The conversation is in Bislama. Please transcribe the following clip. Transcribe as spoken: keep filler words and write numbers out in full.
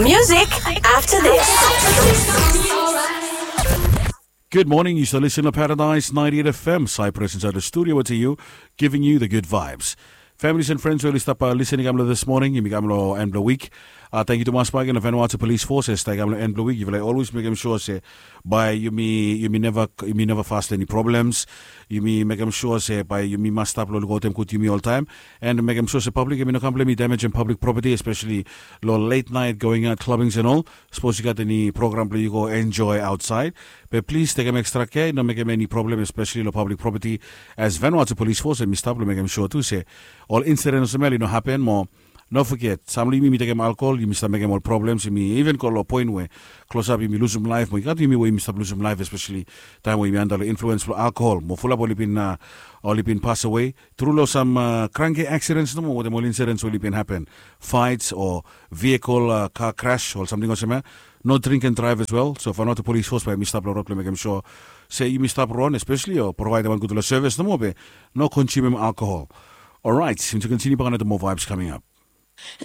Music after this. Good morning. You still listen to Paradise ninety-eight F M. Cyprus inside the studio with you, giving you the good vibes. Families and friends, we oli stap listening kam lo this morning, yumi kam lo en blo wik. Thank you tumas bak long Vanuatu Police Forces, thank kam lo en blo wik. Yufala always mekem sure se bae yumi yumi neva yumi neva fas long eni problems. Yumi mekem sure se bae yumi mas stap lo lukaotem gud yumi oltaem, and mekem sure se public yumi no kam blo yumi damajem public property, especially lo late night going out clubbings and all. Sapos yu gat eni program blo yu go enjoy outside, be plis tekem extra care, no mekem eni problem especially lo public property. As Vanuatu Police Force, yumi stap lo mekem sure tu se ol incident olsem ya i no happen mo. No foget, sam lo yumi yumi tekem alkohol, yumi stap mekem ol problems, yumi even go lo poen we klosap yumi lusum laef mo i gat yumi we yumi stap lusum laef, especially taem we yumi anda lo influens blo alkohol mo fulap oli bin oli bin pas awe tru lo sam kranke accidents nomo wetem ol incidents we oli bin happen, fights o vehicle car crash o samting olsem ya. No drink and drive as well. So Vanuatu Police Force bae yumi stap lo rod blo mekem sure se yumi stap ron, especially o provaedem wan gudfala sevis nomo be no konsumem alkohol. Orait, yumi tu kontiniu bak another more vibes coming up.